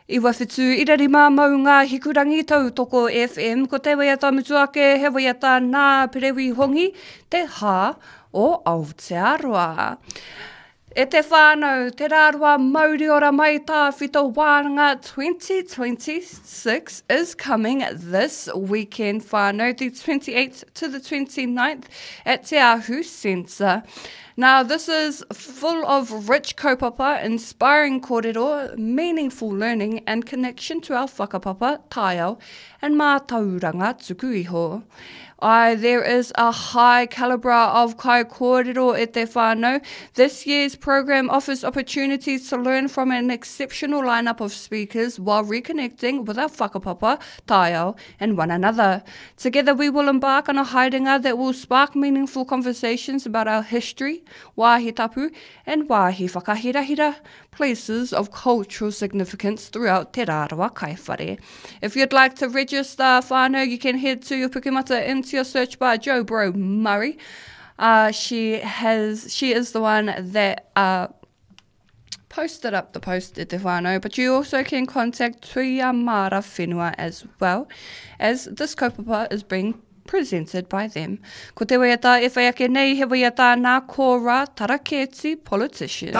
97.5 Maunga Hikurangi Tautoko FM Ko te waiata mutu ake he waiata nā Perewi Hongi Te Hā o Aotearoa. E te whānau, Te Rāroa Mauriora Mai Tāwhito Wānanga 2026 is coming this weekend whānau, the 28th to the 29th at Te Ahu Centre. Now, this is full of rich kaupapa, inspiring kōrero, meaningful learning and connection to our whakapapa, taiao, and mātauranga tuku iho. Ai, there is a high calibre of kai kōrero e te whānau. This year's program offers opportunities to learn from an exceptional lineup of speakers while reconnecting with our whakapapa, taiao, and one another. Together we will embark on a haerenga that will spark meaningful conversations about our history, wāhi tapu, and wāhi whakahirahira, places of cultural significance throughout Te Rarawa Kaiwhare. If you'd like to register whānau, you can head to your Pukemata into your search bar, Joe Bro Murray. Uh, she has, she is the one that uh, posted up the post at Te Whānau, but you also can contact Tuia Mara Whenua as well, as this kaupapa is being presented by them. Ko te waiata e whai ake nei, he waiata nā Kōra Taraketi Politician.